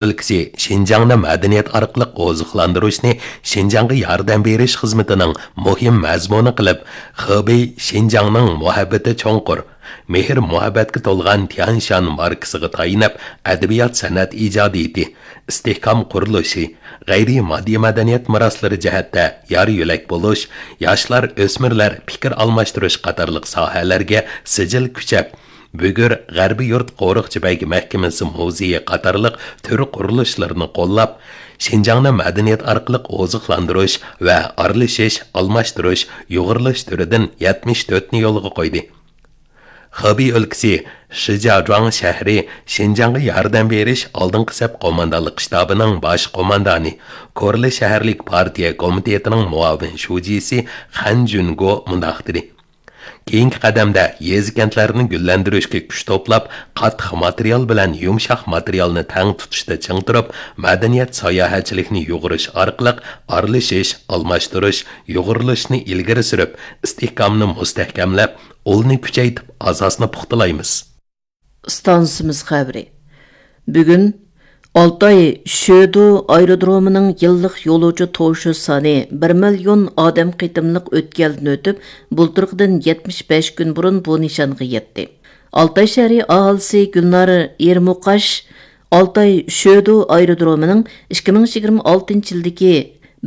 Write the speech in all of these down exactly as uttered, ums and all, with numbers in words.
ئۆلكىسى شىنجاڭنى مەدەنىيەت ئارقىلىق ئوزۇقلاندۇرۇشنى شىنجاڭغا ياردەم بېرىش خىزمىتىنىڭ مۇھىم مەزمۇنى قىلىپ، خېبېي شىنجاڭنىڭ مۇھەببىتى چوڭقۇر، مېھىر-مۇھەببەتكە تولغان تيەنشان ماركىسىغا تايىنىپ، ئەدەبىيات-سەنئەت ئىجادىيىتى، ئىستىھكام قۇرۇلۇشى، غەيرىي ماددىي مەدەنىيەت مىراسلىرى جەھەتتە يار-يۆلەك بولۇش، ياشلار، ئۆسمۈرلەر پىكىر ئالماشتۇرۇش قاتارلىق ساھەلەرگە سىجىل كۈچەپ، بۈگۈر غەربىي يۇرت قورۇقچى بەگ مەھكىمىسى مۇزېيى قاتارلىق تۈر قۇرۇلۇشلىرىنى قوللاپ، شىنجاڭنى مەدەنىيەت ئارقىلىق ئوزۇقلاندۇرۇش ۋە ئارىلىشىش، ئالماشتۇرۇش، يۇغۇرۇلۇش تۈرىدىن يەتمىش تۆتنى يولغا قويدى. خېبېي ئۆلكىسى شىجياجۇاڭ شەھىرى شىنجاڭغا ياردەم بېرىش ئالدىنقى سەپ قوماندانلىق شتابىنىڭ باش قوماندانى، كورلا شەھەرلىك پارتىيە كومىتېتىنىڭ مۇئاۋىن شۇجىسى خەن جۈنگو مۇنداق دېدى: كېيىنكى قەدەمدە يېزا-كەنتلەرنى گۈللەندۈرۈشكە كۈچ توپلاپ، قاتتىق ماتېرىيال بىلەن يۇمشاق ماتېرىيالنى تەڭ تۇتۇشتا چىڭ تۇرۇپ، مەدەنىيەت ساياھەتچىلىكنى يۇغۇرۇش ئارقىلىق ئارىلىشىش، ئالماشتۇرۇش، يۇغۇرۇلۇشنى ئىلگىرى سۈرۈپ، ئىستىھكامنى مۇستەھكەملەپ، ئۇلنى كۈچەيتىپ، ئاساسنى پۇختىلايمىز. ئىستانسىمىز خەۋىرى. بۈگۈن ئالتاي شۆدو ئايرودرومىنىڭ يىللىق يولۇچى توشۇش سانى بىر مىليون ئادەم قېتىملىق ئۆتكەلدىن ئۆتۈپ، بۇلتۇرقىدىن يەتمىش بەش كۈن بۇرۇن بۇ نىشانغا يەتتى. ئالتاي شەھىرى ئاھالىسى گۈلنار ئېرمۇقاش ئالتاي شۆدو ئايرودرومىنىڭ ئىككى مىڭ يىگىرمە ئالتىنچى يىلدىكى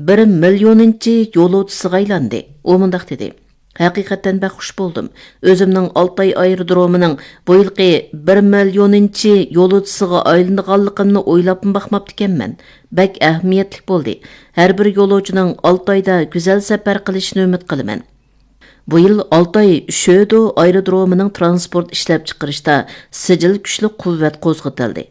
بىر مىليونىنچى يولۇچىسىغا ئايلاندى. ئۇ مۇنداق دېدى: ھەقىقەتەن بەك خۇش بولدۇم. ئۆزۈمنىڭ ئالتاي ئايرودرومىنىڭ بۇ يىلقى بىر مىليونىنچى يولۇچىسىغا ئايلىنىدىغانلىقىمنى ئويلاپمۇ باقماپتىكەنمەن. بەك ئەھمىيەتلىك بولدى. ھەر بىر يولۇچىنىڭ ئالتايدا گۈزەل سەپەر قىلىشىنى ئۈمىد قىلىمەن. بۇ يىل ئالتاي شۆدو ئايرودرومىنىڭ ترانسپورت ئىشلەپچىقىرىشتا سىجىل كۈچلۈك قۇۋۋەت قوزغىتىلدى.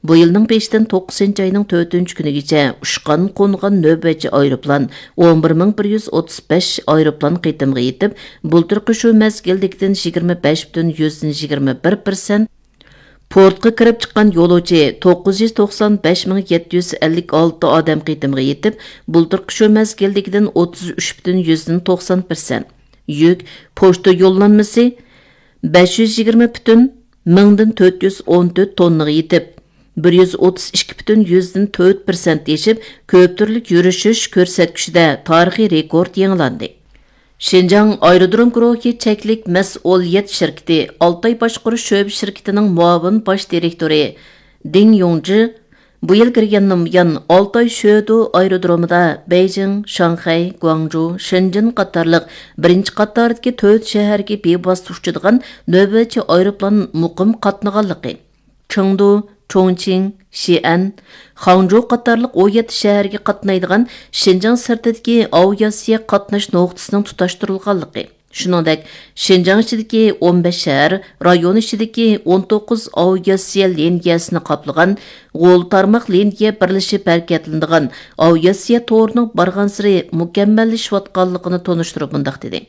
بۇ يىلنىڭ بېشىدىن توققۇزىنچى ئاينىڭ تۆتىنچى كۈنىگىچە ئۇچقان، قونغان نۆۋەتچى ئايروپىلان ئون بىر مىڭ بىر يۈز ئوتتۇز بەش ئايروپىلان قېتىمغا يېتىپ، بۇلتۇرقى شۇ مەزگىلدىكىدىن يىگىرمە بەش پۈتۈن يۈزدىن يىگىرمە بىر پىرسەنت، پورتقا كىرىپ چىققان يولۇچى توققۇز يۈز توقسان بەش مىڭ يەتتە يۈز ئەللىك ئالتە ئادەم قېتىمغا يېتىپ، بۇلتۇرقى شۇ مەزگىلدىكىدىن ئوتتۇز ئۈچ پۈتۈن يۈزدىن توقسان پىرسەنت. يۈك، پوچتا يوللانمىسى بەش يۈز يىگىرمە پۈتۈن مىڭدىن تۆت يۈز ئون تۆت توننىغا يېتىپ، بىر يۈز ئوتتۇز ئىككى پۈتۈن يۈزدىن تۆت پىرسەنت ئېشىپ، كۆپ تۈرلۈك يۈرۈشۈش كۆرسەتكۈچىدە تارىخىي رېكورت يېڭىلاندى. شىنجاڭ ئايرودروم گۇرۇھى چەكلىك مەسئۇلىيەت شىركىتى ئالتاي باشقۇرۇش شۆبە شىركىتىنىڭ مۇئاۋىن باش دىرېكتورى دىڭ يۇڭجى بۇ يىل كىرگەندىن بۇيان، ئالتاي شۆدو ئايرودرومىدا بېيجىڭ، شاڭخەي، گۇاڭجۇ، شېنجېن قاتارلىق بىرىنچى قاتاردىكى تۆت شەھەرگە بىۋاسىتە ئۇچىدىغان نۆۋەتچى ئايروپىلان مۇقىم قاتنىغانلىقى، چېڭدۇ، چۇڭچىڭ، شىئەن، خاڭجۇ قاتارلىق ئون يەتتە شەھەرگە قاتنايدىغان شىنجاڭ سىرتىدىكى ئاۋىئاتسىيە قاتناش نۇقتىسىنىڭ تۇتاشتۇرۇلغانلىقى، شۇنىڭدەك، شىنجاڭ ئىچىدىكى ئون بەش شەھەر، رايون ئىچىدىكى ئون توققۇز ئاۋىئاتسىيە لىنىيەسىنى قاپلىغان غول تارماق لىنىيە بىرلىشىپ ھەرىكەتلىنىدىغان ئاۋىئاتسىيە تورىنىڭ بارغانسېرى مۇكەممەللىشىۋاتقانلىقىنى تونۇشتۇرۇپ مۇنداق دېدى: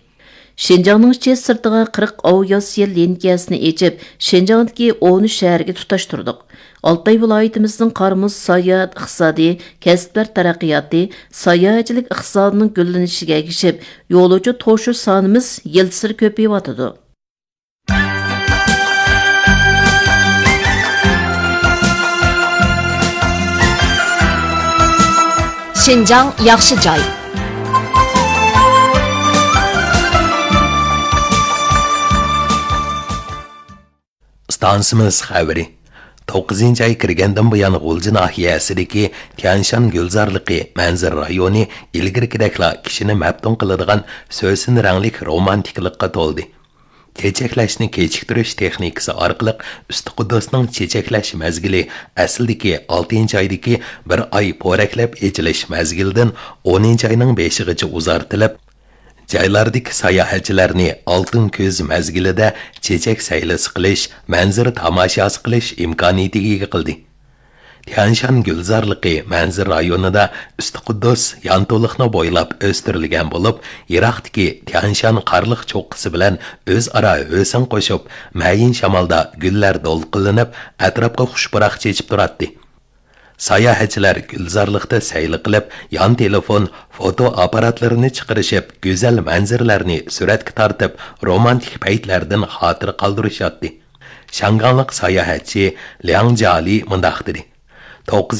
شىنجاڭنىڭ ئىچى سىرتىغا قىرىق ئاۋىئاتسىيە لىنىيەسىنى ئېچىپ، شىنجاڭدىكى ئون ئۈچ شەھەرگە تۇتاشتۇردۇق. ئالتاي ۋىلايىتىمىزنىڭ قار-مۇز ساياھەت ئىقتىسادى، كەسىپلەر تەرەققىياتى، ساياھەتچىلىك ئىقتىسادىنىڭ گۈللىنىشىگە ئەگىشىپ، يولۇچى توشۇش سانىمىز يىلسېرى كۆپىيىۋاتىدۇ. شىنجاڭ ياخشى جاي. ئىستانسىمىز خەۋىرى. توققۇزىنچى ئاي كىرگەندىن بۇيان، غۇلجا ناھىيەسىدىكى تيەنشان گۈلزارلىقى مەنزىرە رايونى ئىلگىرىكىدەكلا كىشىنى مەپتۇن قىلىدىغان سۆسۈن رەڭلىك رومانتىكىلىققا تولدى. چېچەكلەشنى كېچىكتۈرۈش تېخنىكىسى ئارقىلىق ئۈستى قۇددۇسنىڭ چېچەكلەش مەزگىلى ئەسلىدىكى ئالتىنچى ئايدىكى بىر ئاي پورەكلەپ ئېچىلىش مەزگىلىدىن ئونىنچى ئاينىڭ بېشىغىچە ئۇزارتىلىپ، جايلاردىكى ساياھەتچىلەرنى ئالتۇن كۈز مەزگىلىدە چېچەك سەيلىسى قىلىش، مەنزىرە تاماشاسى قىلىش ئىمكانىيىتىگە ئىگە قىلدى. تيەنشان گۈلزارلىقى مەنزىرە رايونىدا ئۈستى قۇددۇس يانتۇلۇقنى بويلاپ ئۆستۈرۈلگەن بولۇپ، يىراقتىكى تيەنشان قارلىق چوققىسى بىلەن ئۆزئارا ھۆسن قوشۇپ، مەيىن شامالدا گۈللەر دولقۇنلىنىپ، ئەتراپقا خۇش پۇراق چېچىپ تۇراتتى. ساياھەتچىلەر گۈلزارلىقتا سەيلە قىلىپ، يان تېلېفون، فوتو ئاپپاراتلىرىنى چىقىرىشىپ، گۈزەل مەنزىرىلەرنى سۈرەتكە تارتىپ، رومانتىك پەيتلەردىن خاتىرە قالدۇرۇشاتتى. شياڭگاڭلىق ساياھەتچى لياڭ جيالى مۇنداق دېدى: توققۇزىنچى